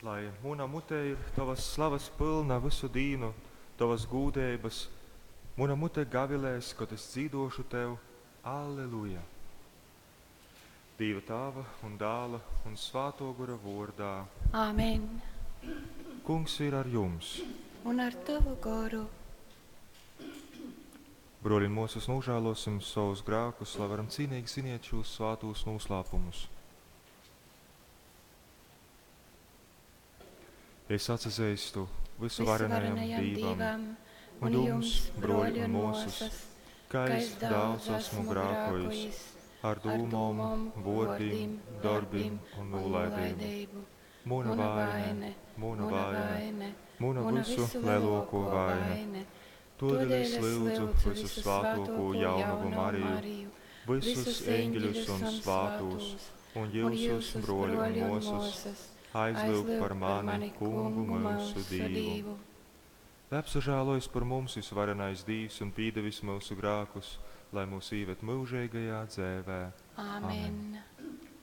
Lai muna mute ir tovas slavas pylna vysu dīnu, tovas gūdeibas, muna mute gavilēs, kod es dzīdošu tev, Alleluja! Dīva Tāva un Dāla un Svātō Gora vōrdā. Āmen. Kungs ir ar jums. Un ar tavu goru. Broļi un mosas, nožēlosim savus grēkus, lai varam cīnīgi svinēt šos svātos noslēpumus. Es atsazīstu visuvarenajam Dīvam un jums, broļi un mosas, ka es daudz esmu grēkojis ar dūmom, vōrdim, darbim un nolaidību. Muna vaine, muna vaine, muna visu lielāko vaine. Todēļ es lūdzu visu svātoko jaunavu Mariju, visus eņģeļus un svātos, un jūsus, broļi un mosas, aizlūg par mani, kungu mūsu Dīvu. Lai apsažēlojas par mums visvarenais Dīvs un pīdevis mūsu grēkus, lai mūs īved mūžīgajā dzēvē. Āmen.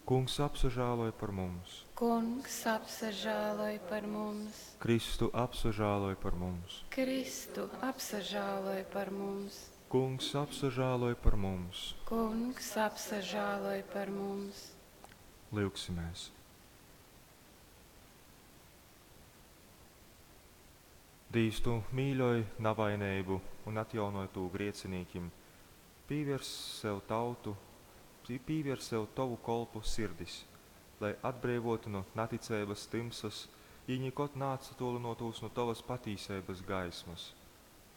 Kungs apsažēloj par mums. Kungs apsažēloj par mums. Kristu apsažēloj par mums. Kristu apsažēloj par mums. Kungs apsažēloj par mums. Kungs apsažēloj par mums. Lūgsimies! Dīvs, tu mīļoj navainību un atjaunoj to griecinīkim. Pīvērs sev tautu, pīvērs sev tavu kolpu sirdis, lai atbrīvotu no neticības timsas, jī nekad neatsatolinotos no tavas patīsības gaismas.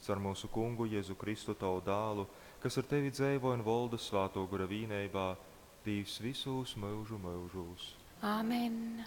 Caur mūsu kungu Jēzu Kristu tavu dālu, kas ar tevi dzēvo un volda svāto gura vīneibā, Dīvs visūs mūžu mūžūs. Āmen.